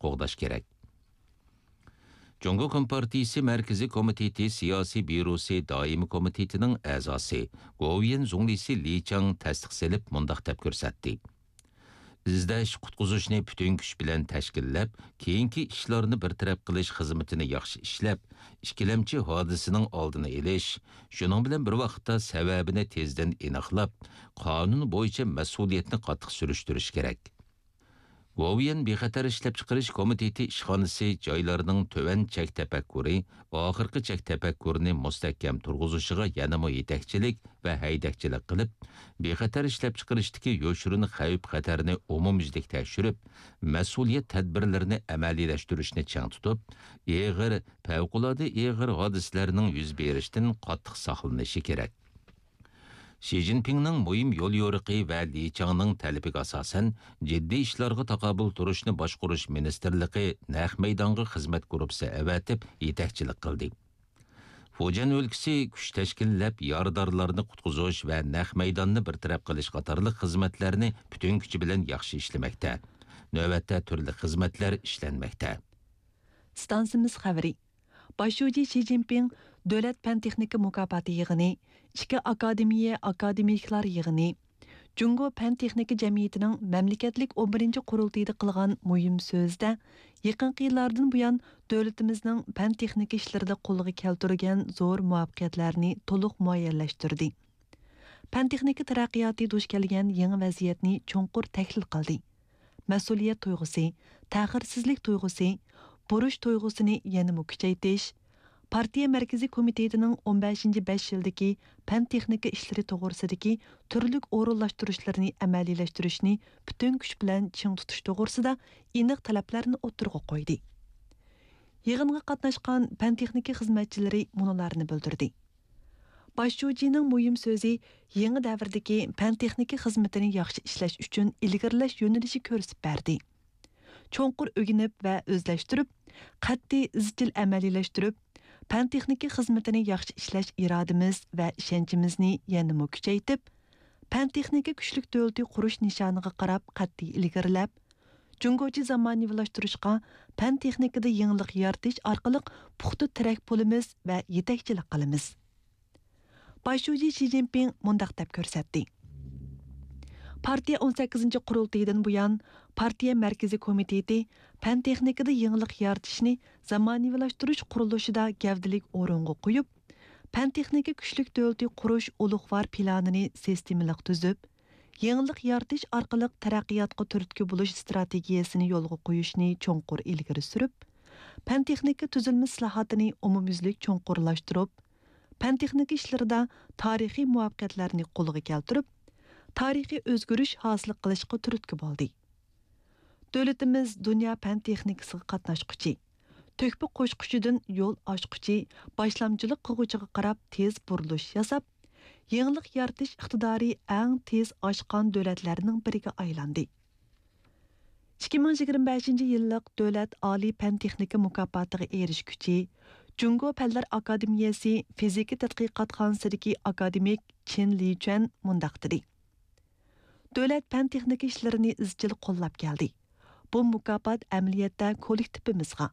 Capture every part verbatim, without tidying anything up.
قوغداش كېرەك. جۇڭگو كومپارتىيىسى مەركىزىي كومىتېتى سىياسىي بيۇروسى دائىمىي كومىتېتىنىڭ ئەزاسى، گوۋۇيۈەن زۇڭلىسى لى چاڭ تەستىق سېلىپ مۇنداق دەپ كۆرسەتتى: ئىزدەش، قۇتقۇزۇشنى پۈتۈن كۈچ بىلەن تەشكىللەپ، كېيىنكى ئىشلارنى بىر تەرەپ قىلىش خىزمىتىنى ياخشى ئىشلەپ، ئىككىلەمچى ھادىسىنىڭ ئالدىنى ئېلىش، شۇنىڭ بىلەن بىر ۋاقىتتا سەۋەبىنى تېزدىن ئېنىقلاپ، قانۇن بويىچە مەسئۇلىيەتنى قاتتىق سۈرۈشتۈرۈش كېرەك. گوۋۇيۈەن بىخەتەر ئىشلەپچىقىرىش كومىتېتى ئىشخانىسى جايلارنىڭ تۆۋەن چەك تەپەككۇرى، ئاخىرقى چەك تەپەككۇرىنى مۇستەھكەم تۇرغۇزۇشىغا يەنىمۇ يېتەكچىلىك ۋە ھەيدەكچىلىك قىلىپ، بىخەتەر ئىشلەپچىقىرىشتىكى يوشۇرۇن خەۋپ-خەتەرنى ئومۇميۈزلۈك تەكشۈرۈپ، مەسئۇلىيەت تەدبىرلىرىنى ئەمەلىيلەشتۈرۈشنى چىڭ تۇتۇپ، ئېغىر، پەۋقۇلئاددە ئېغىر ھادىسىلەرنىڭ يۈز بېرىشتىن قاتتىق ساقلىنىشى كېرەك. شى جىنپىڭنىڭ مۇھىم يوليورۇقى ۋە لى چاڭنىڭ تەلىپىگە ئاساسەن، جىددىي ئىشلارغا تاقابىل تۇرۇشنى باشقۇرۇش مىنىستىرلىقى نەق مەيدانغا خىزمەت گۇرۇپپىسى ئەۋەتىپ يېتەكچىلىك قىلدى. فۇجيەن ئۆلكىسى كۈچ تەشكىللەپ، يارىدارلارنى قۇتقۇزۇش ۋە نەق مەيداننى بىر تەرەپ قىلىش قاتارلىق خىزمەتلەرنى پۈتۈن كۈچى بىلەن ياخشى ئىشلىمەكتە. نۆۋەتتە تۈرلۈك خىزمەتلەر ئىشلەنمەكتە. ئىستانسىمىز خەۋىرى. باش شۇجى شى جىنپىڭ دۆلەت پەن-تېخنىكا مۇكاپاتى يىغىنى، ئىككى ئاكادېمىيە ئاكادېمىكلار يىغىنى، جۇڭگو پەن-تېخنىكا جەمئىيىتىنىڭ مەملىكەتلىك ئون بىرىنچى قۇرۇلتىيىدا قىلغان مۇھىم سۆزىدە، يېقىنقى يىللاردىن بۇيان دۆلىتىمىزنىڭ پەن-تېخنىكا ئىشلىرىدا قولغا كەلتۈرگەن زور مۇۋەپپەقىيەتلەرنى تولۇق مۇئەييەنلەشتۈردى. پەن-تېخنىكا تەرەققىياتى دۇچ كەلگەن يېڭى ۋەزىيەتنى چوڭقۇر تەھلىل قىلدى. مەسئۇلىيەت تۇيغۇسى، تەخىرسىزلىك تۇيغۇسى، بۇرچ تۇيغۇسىنى يەنىمۇ كۈچەيتىش، پارتىيە مەركىزىي كومىتېتىنىڭ ئون بەشىنچى بەش يىلدىكى پەن-تېخنىكا ئىشلىرى توغرىسىدىكى تۈرلۈك ئورۇنلاشتۇرۇشلىرىنى ئەمەلىيلەشتۈرۈشنى پۈتۈن كۈچ بىلەن چىڭ تۇتۇش توغرىسىدا ئېنىق تەلەپلەرنى ئوتتۇرىغا قويدى. يىغىنغا قاتناشقان پەن-تېخنىكا خىزمەتچىلىرى مۇنۇلارنى بىلدۈردى. باش شۇجىنىڭ مۇھىم سۆزى يېڭى دەۋردىكى پەن-تېخنىكا خىزمىتىنى ياخشى ئىشلەش ئۈچۈن ئىلگىرىلەش يۆنىلىشى كۆرسىتىپ بەردى. چوڭقۇر ئۆگىنىپ ۋە ئۆزلەشتۈرۈپ، قەتئىي ئىزچىل ئەمەلىيلەشتۈرۈپ، پەن-تېخنىكا خىزمىتىنى ياخشى ئىشلەش ئىرادىمىز ۋە ئىشەنچىمىزنى يەنىمۇ كۈچەيتىپ، پەن-تېخنىكا كۈچلۈك دۆلىتى قۇرۇش نىشانىغا قاراپ قەتئىي ئىلگىرىلەپ، جۇڭگوچە زامانىۋىلاشتۇرۇشقا پەن-تېخنىكىدا يېڭىلىق يارىتىش ئارقىلىق پۇختا تىرەك بولىمىز ۋە يېتەكچىلىك قىلىمىز. باش شۇجى شى جىنپىڭ مۇنداق دەپ كۆرسەتتى: پارتىيە ئون سەككىزىنچى قۇرۇلتىيىدىن بۇيان، پارتىيە مەركىزىي كومىتېتى پەن-تېخنىكىدا يېڭىلىق يارىتىشنى زامانىۋىلاشتۇرۇش قۇرۇلۇشىدا گەۋدىلىك ئورۇنغا قويۇپ، پەن-تېخنىكا كۈچلۈك دۆلىتى قۇرۇش ئۇلۇغۋار پىلانىنى سىستېمىلىق تۈزۈپ، يېڭىلىق يارىتىش ئارقىلىق تەرەققىياتقا تۈرتكە بولۇش ئىستراتېگىيەسىنى يولغا قويۇشنى چوڭقۇر ئىلگىرى سۈرۈپ، پەن-تېخنىكا تۈزۈلمە ئىسلاھاتىنى ئومۇميۈزلۈك چوڭقۇرلاشتۇرۇپ، پەن-تېخنىكا ئىشلىرىدا تارىخىي مۇۋەپپەقىيەتلەرنى قولغا كەلتۈرۈپ، تارىخىي ئۆزگىرىش ھاسىل قىلىشقا تۈرتكە بولدى. دۆلىتىمىز دۇنيا پەن-تېخنىكىسىغا قاتناشقۇچى، تۆھپە قوشقۇچىدىن يول ئاچقۇچى، باشلامچىلىق قىلغۇچىغا قاراپ تېز بۇرۇلۇش ياساپ، يېڭىلىق يارىتىش ئىقتىدارى ئەڭ تېز ئاشقان دۆلەتلەرنىڭ بىرىگە ئايلاندى. ئىككى مىڭ يىگىرمە بەشىنچى يىللىق دۆلەت ئالىي پەن-تېخنىكا مۇكاپاتىغا ئېرىشكۈچى، جۇڭگو پەنلەر ئاكادېمىيەسى فىزىكا تەتقىقاتخانىسىدىكى ئاكادېمىك چېن لىچۈەن مۇنداق دېدى: دۆلەت پەن-تېخنىكا ئىشلىرىنى ئىزچىل قوللاپ كەلدى. بۇ مۇكاپات ئەمەلىيەتتە كوللېكتىپىمىزغا،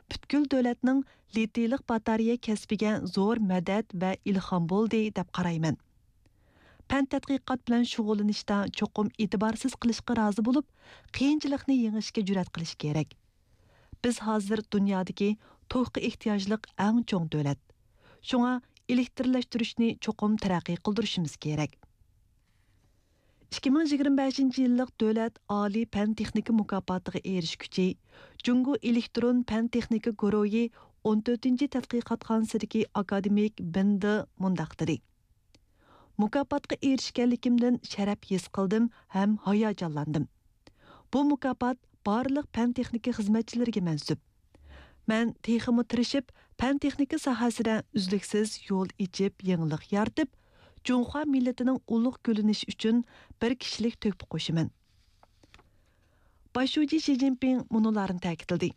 پۈتكۈل دۆلەتنىڭ لىتىيلىق باتارېيە كەسپىگە زور مەدەت ۋە ئىلھام بولدى، دەپ قارايمەن. پەن تەتقىقات بىلەن شۇغۇللىنىشتا چوقۇم ئېتىبارسىز قېلىشقا رازى بولۇپ، قىيىنچىلىقنى يېڭىشكە جۈرئەت قىلىش كېرەك. بىز ھازىر دۇنيادىكى توكقا ئېھتىياجلىق ئەڭ چوڭ دۆلەت. شۇڭا ئېلېكترلەشتۈرۈشنى چوقۇم تەرەققىي قىلدۇرۇشىمىز كېرەك. ئىككى مىڭ يىگىرمە بەشىنچى يىللىق دۆلەت ئالىي پەن-تېخنىكا مۇكاپاتىغا ئېرىشكۈچى، جۇڭگو ئېلېكترون پەن-تېخنىكا گۇرۇھى ئون تۆتىنچى تەتقىقاتخانىسىدىكى ئاكادېمىك بىن دې مۇنداق دېدى: مۇكاپاتقا ئېرىشكەنلىكىمدىن شەرەپ ھېس قىلدىم ھەم ھاياجانلاندىم. بۇ مۇكاپات بارلىق پەن-تېخنىكا خىزمەتچىلىرىگە مەنسۇپ. مەن تېخىمۇ تىرىشىپ، پەن-تېخنىكا ساھەسىدە ئۈزلۈكسىز يول ئېچىپ، يېڭىلىق يارىتىپ، جۇڭخۇا مىللىتىنىڭ ئۇلۇغ گۈللىنىشى ئۈچۈن بىر كىشىلىك تۆھپە قوشىمەن. باش شۇجى شى جىنپىڭ مۇنۇلارنى تەكىتلىدى: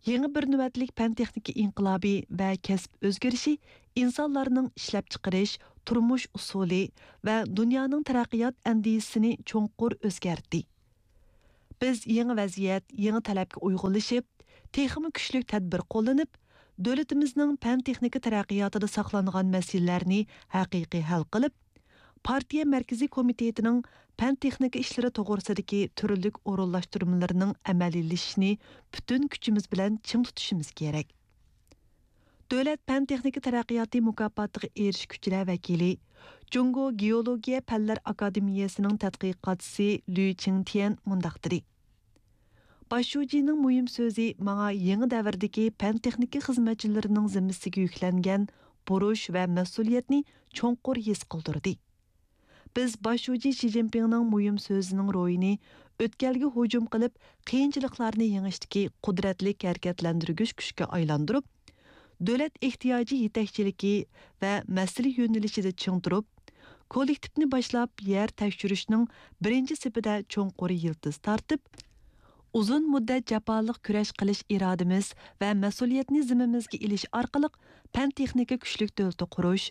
يېڭى بىر نۆۋەتلىك پەن-تېخنىكا ئىنقىلابى ۋە كەسىپ ئۆزگىرىشى ئىنسانلارنىڭ ئىشلەپچىقىرىش، تۇرمۇش ئۇسۇلى ۋە دۇنيانىڭ تەرەققىيات ئەندىزىسىنى چوڭقۇر ئۆزگەرتتى. بىز يېڭى ۋەزىيەت، يېڭى تەلەپكە ئۇيغۇنلىشىپ، تېخىمۇ كۈچلۈك تەدبىر قوللىنىپ، دۆلىتىمىزنىڭ پەن-تېخنىكا تەرەققىياتىدا ساقلانغان مەسىلىلەرنى ھەقىقىي ھەل قىلىپ، پارتىيە مەركىزىي كومىتېتىنىڭ پەن-تېخنىكا ئىشلىرى توغرىسىدىكى تۈرلۈك ئورۇنلاشتۇرمىلىرىنىڭ ئەمەلىيلىشىشىنى پۈتۈن كۈچىمىز بىلەن چىڭ تۇتۇشىمىز كېرەك. دۆلەت پەن-تېخنىكا تەرەققىياتى مۇكاپاتىغا ئېرىشكۈچىلەر ۋەكىلى، جۇڭگو گېئولوگىيە پەنلەر ئاكادېمىيەسىنىڭ تەتقىقاتچىسى لۈ چىڭتيەن مۇنداق دېدى: باش شۇجىنىڭ مۇھىم سۆزى ماڭا يېڭى دەۋردىكى پەن-تېخنىكا خىزمەتچىلىرىنىڭ زىممىسىگە يۈكلەنگەن بۇرچ ۋە مەسئۇلىيەتنى چوڭقۇر ھېس قىلدۇردى. بىز باش شۇجى شى جىنپىڭنىڭ مۇھىم سۆزىنىڭ روھىنى ئۆتكەلگە ھۇجۇم قىلىپ، قىيىنچىلىقلارنى يېڭىشتىكى قۇدرەتلىك ھەرىكەتلەندۈرگۈچ كۈچكە ئايلاندۇرۇپ، دۆلەت ئېھتىياجى يېتەكچىلىكى ۋە مەسىلە يۆنىلىشىدە چىڭ تۇرۇپ، كوللېكتىپنى باشلاپ يەر تەكشۈرۈشنىڭ بىرىنچى سېپىدە چوڭقۇر يىلتىز تارتىپ، ئۇزۇن مۇددەت جاپالىق كۈرەش قىلىش ئىرادىمىز ۋە مەسئۇلىيەتنى زىممىمىزگە ئېلىش ئارقىلىق پەن-تېخنىكا كۈچلۈك دۆلىتى قۇرۇش،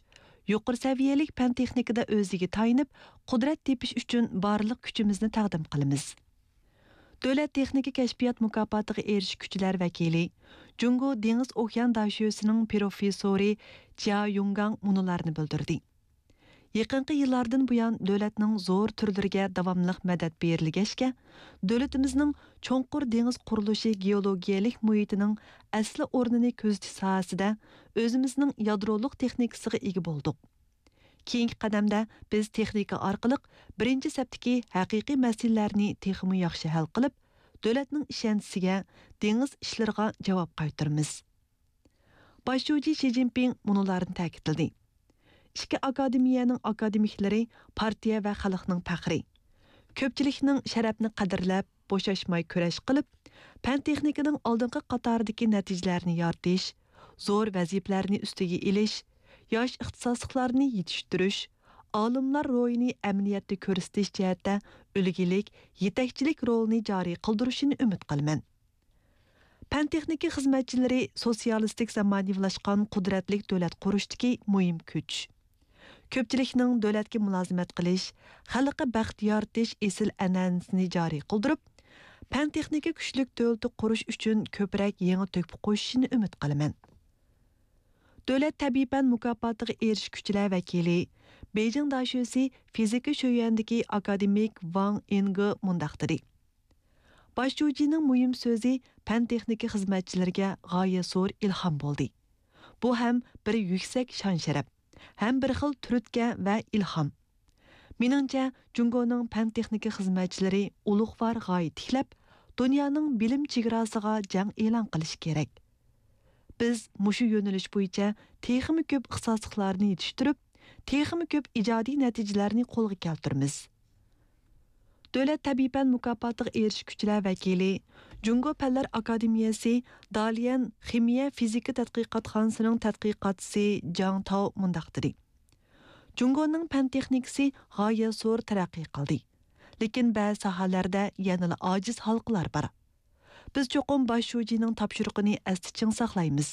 يۇقىرى سەۋىيەلىك پەن-تېخنىكىدا ئۆزىگە تايىنىپ، قۇدرەت تېپىش ئۈچۈن بارلىق كۈچىمىزنى تەقدىم قىلىمىز. دۆلەت تېخنىكا كەشپىيات مۇكاپاتىغا ئېرىشكۈچىلەر ۋەكىلى، جۇڭگو دېڭىز ئوكيان داشۆسىنىڭ پروفېسسورى جيا يۇڭگاڭ مۇنۇلارنى بىلدۈردى: يېقىنقى يىللاردىن بۇيان، دۆلەتنىڭ زور تۈرلىرىگە داۋاملىق مەدەت بېرىلگەچكە، دۆلىتىمىزنىڭ چوڭقۇر دېڭىز قۇرۇلۇشى گېئولوگىيەلىك مۇھىتىنىڭ ئەسلى ئورنىنى كۆزىتىش ساھەسىدە ئۆزىمىزنىڭ يادرولۇق تېخنىكىسىغا ئىگە بولدۇق. كېيىنكى قەدەمدە بىز تېخنىكا ئارقىلىق بىرىنچى سەپتىكى ھەقىقىي مەسىلىلەرنى تېخىمۇ ياخشى ھەل قىلىپ، دۆلەتنىڭ ئىشەنچىسىگە، دېڭىز ئىشلىرىغا جاۋاب قايتۇرىمىز. باش شۇجى شى جىنپىڭ مۇنۇلارنى تەكىتلىدى: ئىككى ئاكادېمىيەنىڭ ئاكادېمىكلىرى پارتىيە ۋە خەلقنىڭ پەخرى. كۆپچىلىكنىڭ شەرەپنى قەدىرلەپ، بوشاشماي كۈرەش قىلىپ، پەن-تېخنىكىنىڭ ئالدىنقى قاتارىدىكى نەتىجىلەرنى يارىتىش، زور ۋەزىپىلەرنى ئۈستىگە ئېلىش، ياش ئىختىساسلىقلارنى يېتىشتۈرۈش، ئالىملار روھىنى ئەمەلىيەتتە كۆرسىتىش جەھەتتە ئۈلگىلىك، يېتەكچىلىك رولىنى جارى قىلدۇرۇشىنى ئۈمىد قىلىمەن. پەن-تېخنىكا خىزمەتچىلىرى سوتسىيالىستىك زامانىۋىلاشقان قۇدرەتلىك دۆلەت قۇرۇشتىكى مۇھىم كۈچ. كۆپچىلىكنىڭ دۆلەتكە مۇلازىمەت قىلىش، خەلققە بەخت يارىتىش ئېسىل ئەنئەنىسىنى جارى قىلدۇرۇپ، پەن-تېخنىكا كۈچلۈك دۆلىتى قۇرۇش ئۈچۈن كۆپرەك يېڭى تۆھپە قوشۇشىنى ئۈمىد قىلىمەن. دۆلەت تەبىئىي پەن مۇكاپاتىغا ئېرىشكۈچىلەر ۋەكىلى، بېيجىڭ داشۆسى فىزىكا شۆيۈەندىكى ئاكادېمىك ۋاڭ ئىنگې مۇنداق دېدى: باش شۇجىنىڭ مۇھىم سۆزى پەن-تېخنىكا خىزمەتچىلىرىگە غايەت زور ئىلھام بولدى. بۇ ھەم بىر يۈكسەك شان-شەرەپ، ھەم بىر خىل تۈرتكە ۋە ئىلھام. مېنىڭچە، جۇڭگونىڭ پەن-تېخنىكا خىزمەتچىلىرى ئۇلۇغۋار غايە تىكلەپ، دۇنيانىڭ بىلىم چېگراسىغا جەڭ ئېلان قىلىشى كېرەك. بىز مۇشۇ يۆنىلىش بويىچە تېخىمۇ كۆپ ئىختىساسلىقلارنى يېتىشتۈرۈپ، تېخىمۇ كۆپ ئىجادىي نەتىجىلەرنى قولغا كەلتۈرىمىز. دۆلەت تەبىئىي پەن مۇكاپاتىغا ئېرىشكۈچىلەر ۋەكىلى، جۇڭگو پەنلەر ئاكادېمىيەسى داليەن خىمىيە فىزىكا تەتقىقاتخانىسىنىڭ تەتقىقاتچىسى جاڭ تاۋ مۇنداق دېدى: جۇڭگونىڭ پەن تېخنىكىسى غايەت زور تەرەققىي قىلدى، لېكىن بەزى ساھەلەردە يەنىلا ئاجىز ھالقىلار بار. بىز چوقۇم باش شۇجىنىڭ تاپشۇرۇقىنى ئەستە چىڭ ساقلايمىز.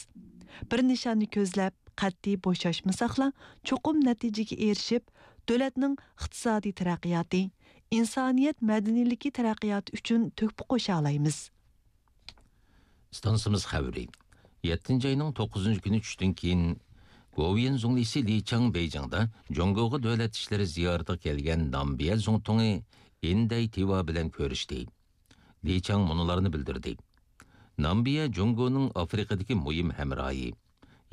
بىر نىشاننى كۆزلەپ، قەتئىي بوشاشمىساقلا، چوقۇم نەتىجىگە ئېرىشىپ، دۆلەتنىڭ ئىقتىسادىي تەرەققىياتى، ئىنسانىيەت مەدەنىيلىكى تەرەققىياتى ئۈچۈن تۆھپە قوشالايمىز. ئىستانسىمىز خەۋىرى. يەتتىنچى ئاينىڭ توققۇزىنچى كۈنى چۈشتىن كېيىن، گوۋۇيۈەن زۇڭلىسى لى چاڭ بېيجىڭدا جۇڭگوغا دۆلەت ئىشلىرى زىيارىتىگە كەلگەن نامبىيە زۇڭتۇڭى ئىن دەي تىۋا بىلەن كۆرۈشتى. لى چاڭ مۇنۇلارنى بىلدۈردى: نامبىيە جۇڭگونىڭ ئافرىقىدىكى مۇھىم ھەمراھى.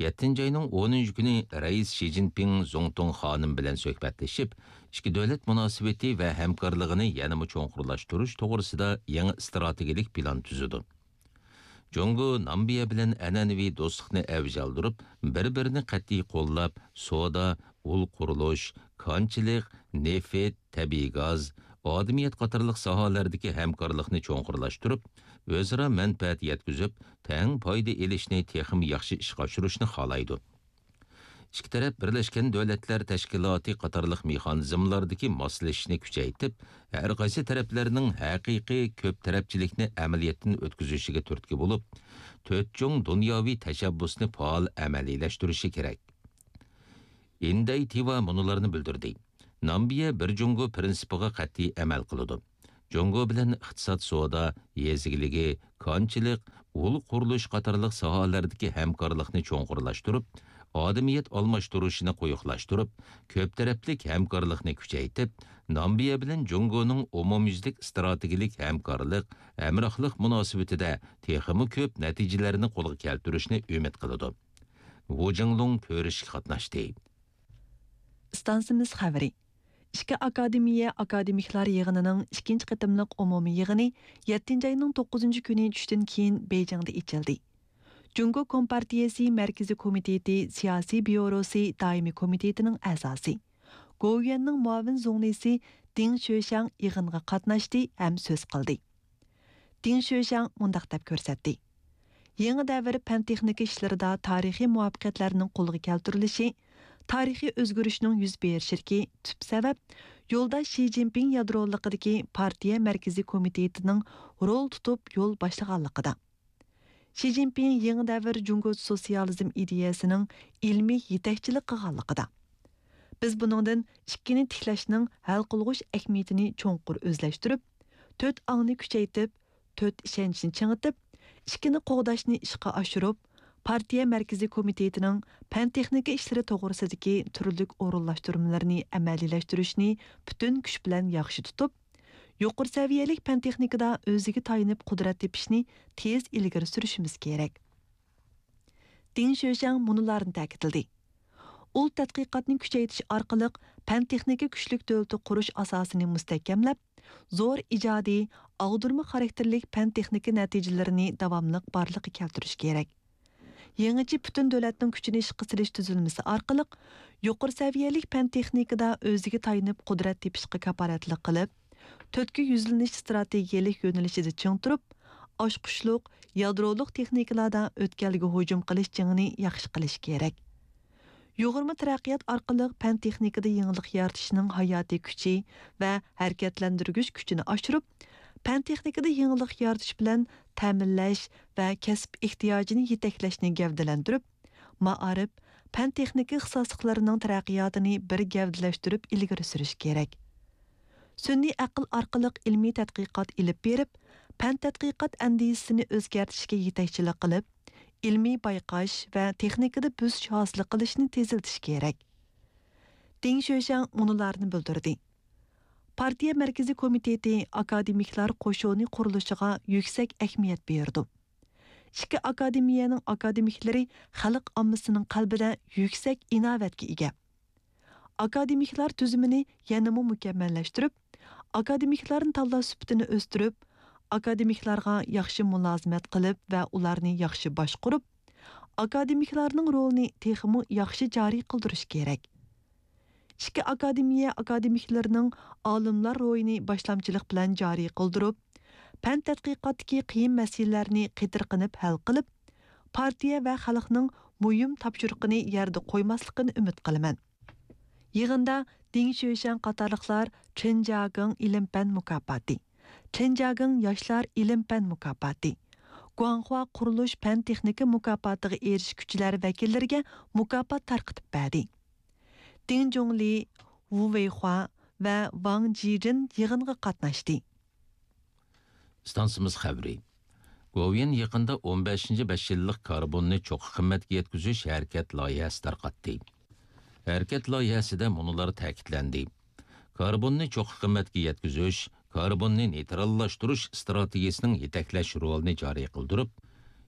يەتتىنچى ئاينىڭ ئونىنچى كۈنى رەئىس شى جىنپىڭ زۇڭتۇڭ خانىم بىلەن سۆھبەتلىشىپ، ئىككى دۆلەت مۇناسىۋىتى ۋە ھەمكارلىقىنى يەنىمۇ چوڭقۇرلاشتۇرۇش توغرىسىدا يېڭى ئىستراتېگىيەلىك پىلان تۈزىدۇ. جۇڭگو نامبىيە بىلەن ئەنئەنىۋى دوستلۇقنى ئەۋج ئالدۇرۇپ، بىر-بىرىنى قەتئىي قوللاپ، سودا، ئۇل قۇرۇلۇش، كانچىلىق، نېفىت، تەبىئىي گاز، ئادىمىيەت قاتارلىق ساھەلەردىكى ھەمكارلىقنى چوڭقۇرلاشتۇرۇپ، ئۆزئارا مەنپەئەت يەتكۈزۈپ، تەڭ پايدا ئېلىشنى تېخىمۇ ياخشى ئىشقا ئاشۇرۇشنى خالايدۇ. ئىككى تەرەپ بىرلەشكەن دۆلەتلەر تەشكىلاتى قاتارلىق مېخانىزملاردىكى ماسلىشىشنى كۈچەيتىپ، ھەر قايسى تەرەپلەرنىڭ ھەقىقىي كۆپ تەرەپچىلىكنى ئەمەلىيەتتىن ئۆتكۈزۈشىگە تۈرتكە بولۇپ، تۆت چوڭ دۇنياۋى تەشەببۇسنى پائال ئەمەلىيلەشتۈرۈشى كېرەك. ئىندەي تىۋا مۇنۇلارنى بىلدۈردى: نامبىيە بىر جۇڭگو پىرىنسىپىغا قەتئىي ئەمەل قىلىدۇ. جۇڭگو بىلەن ئىقتىساد، سودا، يېزا ئىگىلىكى، كانچىلىق، ئۇل قۇرۇلۇش قاتارلىق ساھەلەردىكى ھەمكارلىقنى چوڭقۇرلاشتۇرۇپ، ئادەمىيەت ئالماشتۇرۇشىنى قويۇقلاشتۇرۇپ، كۆپ تەرەپلىك ھەمكارلىقنى كۈچەيتىپ، نامىبىيە بىلەن جۇڭگونىڭ ئومۇميۈزلۈك ئىستراتېگىيەلىك ھەمكارلىق، ھەمراھلىق مۇناسىۋىتىدە تېخىمۇ كۆپ نەتىجىلەرنى قولغا كەلتۈرۈشنى ئۈمىد قىلىدۇ. ۋۇ جىڭلۇڭ كۆرۈشۈشكە قاتناشتى. ئىستانسىمىز خەۋىرى. ئىككى ئاكادېمىيە ئاكادېمىكلار يىغىنىنىڭ ئىككىنچى قېتىملىق ئومۇمىي يىغىنى يەتتىنچى ئاينىڭ توققۇزىنچى كۈنى چۈشتىن كېيىن بېيجىڭدا ئېچىلدى. جۇڭگو كومپارتىيەسى مەركىزىي كومىتېتى سىياسىي بيۇروسى دائىمىي كومىتېتىنىڭ ئەزاسى، گوۋۇيۈەننىڭ مۇئاۋىن زۇڭلىسى دىڭ شۆشياڭ يىغىنغا قاتناشتى ھەم سۆز قىلدى. دىڭ شۆشياڭ مۇنداق دەپ كۆرسەتتى: يېڭى دەۋر پەن-تېخنىكا ئىشلىرىدا تارىخىي مۇۋەپپەقىيەتلەرنىڭ قولغا كەلتۈرۈلۈشى، تارىخىي ئۆزگىرىشنىڭ يۈز بېرىشىدىكى تۈپ سەۋەب يولداش شى جىنپىڭ يادرولۇقىدىكى پارتىيە مەركىزىي كومىتېتىنىڭ رول تۇتۇپ يول باشلىغانلىقىدا، شى جىنپىڭ يېڭى دەۋر جۇڭگو سوتسىيالىزم ئىدىيەسىنىڭ ئىلمىي يېتەكچىلىك قىلغانلىقىدا، بىز بۇنىڭدىن ئىككىنى تىكلەشنىڭ ھەل قىلغۇچ ئەھمىيىتىنى چوڭقۇر ئۆزلەشتۈرۈپ، تۆت ئاڭنى كۈچەيتىپ، تۆت ئىشەنچنى چىڭىتىپ، ئىككىنى قوغداشنى ئىشقا ئاشۇرۇپ، پارتىيە مەركىزىي كومىتېتىنىڭ پەن-تېخنىكا ئىشلىرى توغرىسىدىكى تۈرلۈك ئورۇنلاشتۇرمىلىرىنى ئەمەلىيلەشتۈرۈشنى پۈتۈن كۈچ بىلەن ياخشى تۇتۇپ، يۇقىرى سەۋىيەلىك پەن-تېخنىكىدا ئۆزىگە تايىنىپ قۇدرەت تېپىشنى تېز ئىلگىرى سۈرۈشىمىز كېرەك. دىڭ شۆشياڭ مۇنۇلارنى تەكىتلىدى: ئۇل تەتقىقاتنى كۈچەيتىش ئارقىلىق پەن-تېخنىكا كۈچلۈك دۆلىتى قۇرۇش ئاساسىنى مۇستەھكەملەپ، زور ئىجادىي، ئاغدۇرما خاراكتېرلىك پەن-تېخنىكا نەتىجىلىرىنى داۋاملىق بارلىققا كەلتۈرۈش كېرەك. يېڭىچە پۈتۈن دۆلەتنىڭ كۈچىنى ئىشقا سېلىش تۈزۈلمىسى ئارقىلىق يۇقىرى سەۋىيەلىك پەن-تېخنىكىدا ئۆزىگە تايىنىپ قۇدرەت تېپىشقا كاپالەتلىك قىلىپ، تۆتكە يۈزلىنىش ئىستراتېگىيەلىك يۆنىلىشىدە چىڭ تۇرۇپ، ئاچقۇچلۇق، يادرولۇق تېخنىكىلاردا ئۆتكەلگە ھۇجۇم قىلىش جېڭىنى ياخشى قىلىش كېرەك. يۇغۇرما تەرەققىيات ئارقىلىق پەن-تېخنىكىدا يېڭىلىق يارىتىشنىڭ ھاياتىي كۈچى ۋە ھەرىكەتلەندۈرگۈچ كۈچىنى ئاشۇرۇپ، پەن-تېخنىكىدا يېڭىلىق يارىتىش بىلەن تەمىنلەش ۋە كەسىپ ئېھتىياجىنى يېتەكلەشنى گەۋدىلەندۈرۈپ، مائارىپ، پەن-تېخنىكا ئىختىساسلىقلىرىنىڭ تەرەققىياتىنى بىر گەۋدىلەشتۈرۈپ ئىلگىرى سۈرۈش كېرەك. سۈنئىي ئەقىل ئارقىلىق ئىلمىي تەتقىقات ئېلىپ بېرىپ، پەن تەتقىقات ئەندىزىسىنى ئۆزگەرتىشكە يېتەكچىلىك قىلىپ، ئىلمىي بايقاش ۋە تېخنىكىدا بۆسۈش ھاسىل قىلىشنى تېزلىتىش كېرەك. دىڭ شۆشياڭ مۇنۇلارنى بىلدۈردى: پارتىيە مەركىزىي كومىتېتى ئاكادېمىكلار قوشۇنى قۇرۇلۇشىغا يۈكسەك ئەھمىيەت بېرىدۇ. ئىككى ئاكادېمىيەنىڭ ئاكادېمىكلىرى خەلق ئاممىسىنىڭ قەلبىدە يۈكسەك ئىناۋەتكە ئىگە. ئاكادېمىكلار تۈزۈمىنى يەنىمۇ مۇكەممەللەشتۈرۈپ، ئاكادېمىكلارنى تاللاش سۈپىتىنى ئۆستۈرۈپ، ئاكادېمىكلارغا ياخشى مۇلازىمەت قىلىپ ۋە ئۇلارنى ياخشى باشقۇرۇپ، ئاكادېمىكلارنىڭ رولىنى تېخىمۇ ياخشى جارى قىلدۇرۇش كېرەك. ئىككى ئاكادېمىيە ئاكادېمىكلىرىنىڭ ئالىملار روھىنى باشلامچىلىق بىلەن جارى قىلدۇرۇپ، پەن تەتقىقاتتىكى قىيىن مەسىلىلەرنى قېتىرقىنىپ ھەل قىلىپ، پارتىيە ۋە خەلقنىڭ مۇھىم تاپشۇرۇقىنى يەردە قويماسلىقىنى ئۈمىد قىلىمەن. يىغىندا دىڭ شۆشياڭ قاتارلىقلار چېن جياگېڭ ئىلىم-پەن مۇكاپاتى، چېن جياگېڭ ياشلار ئىلىم-پەن مۇكاپاتى، گۇاڭخۇا قۇرۇلۇش پەن-تېخنىكا مۇكاپاتىغا ئېرىشكۈچىلەر ۋەكىللىرىگە مۇكاپات تارقىتىپ بەردى. دىڭ جۇڭلى، ۋۇ ۋېيخۇا ۋە ۋاڭ جىجىن يىغىنغا قاتناشتى. ئىستانسىمىز خەۋىرى. گوۋۇيۈەن يېقىندا ئون بەشىنچى بەش يىللىق كاربوننى چوققا قىممەتكە يەتكۈزۈش ھەرىكەت لايىھەسى تارقاتتى. ھەرىكەت لايىھەسىدە مۇنۇلار تەكىتلەندى: كاربوننى چوققا قىممەتكە يەتكۈزۈش، كاربوننى نېيتراللاشتۇرۇش ئىستراتېگىيەسىنىڭ يېتەكلەش رولىنى جارى قىلدۇرۇپ،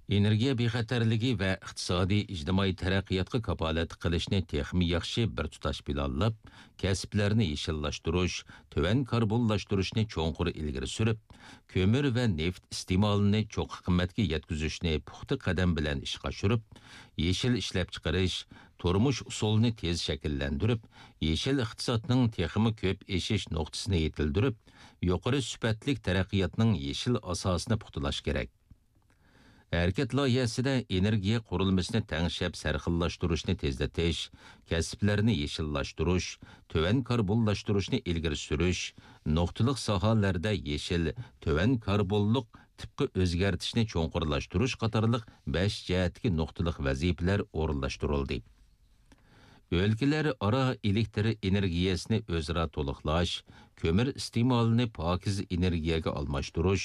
ئېنېرگىيە بىخەتەرلىكى ۋە ئىقتىسادىي، ئىجتىمائىي تەرەققىياتقا كاپالەتلىك قىلىشنى تېخىمۇ ياخشى بىر تۇتاش پىلانلاپ، كەسىپلەرنى يېشىللاشتۇرۇش، تۆۋەن كاربونلاشتۇرۇشنى چوڭقۇر ئىلگىرى سۈرۈپ، كۆمۈر ۋە نېفىت ئىستېمالىنى چوققا قىممەتكە يەتكۈزۈشنى پۇختا قەدەم بىلەن ئىشقا ئاشۇرۇپ، يېشىل ئىشلەپچىقىرىش، تۇرمۇش ئۇسۇلىنى تېز شەكىللەندۈرۈپ، يېشىل ئىقتىسادنىڭ تېخىمۇ كۆپ ئېشىش نۇقتىسىنى يېتىلدۈرۈپ، يۇقىرى سۈپەتلىك تەرەققىياتنىڭ يېشىل ئاساسىنى پۇختىلاش كېرەك. ھەرىكەت لايىھەسىدە ئېنېرگىيە قۇرۇلمىسىنى تەڭشەپ سەرخىللاشتۇرۇشنى تېزلىتىش، كەسىپلەرنى يېشىللاشتۇرۇش، تۆۋەن كاربونلاشتۇرۇشنى ئىلگىرى سۈرۈش، نۇقتىلىق ساھەلەردە يېشىل، تۆۋەن كاربونلۇق تىپقا ئۆزگەرتىشنى چوڭقۇرلاشتۇرۇش قاتارلىق بەش جەھەتتىكى نۇقتىلىق ۋەزىپىلەر ئورۇنلاشتۇرۇلدى. ئۆلكىلەر ئارا ئېلېكتر ئېنېرگىيەسىنى ئۆزئارا تولۇقلاش، كۆمۈر ئىستېمالىنى پاكىز ئېنېرگىيەگە ئالماشتۇرۇش،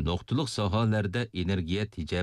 نۇقتىلىق ساھەلەردە ئېنېرگىيە تېجەپ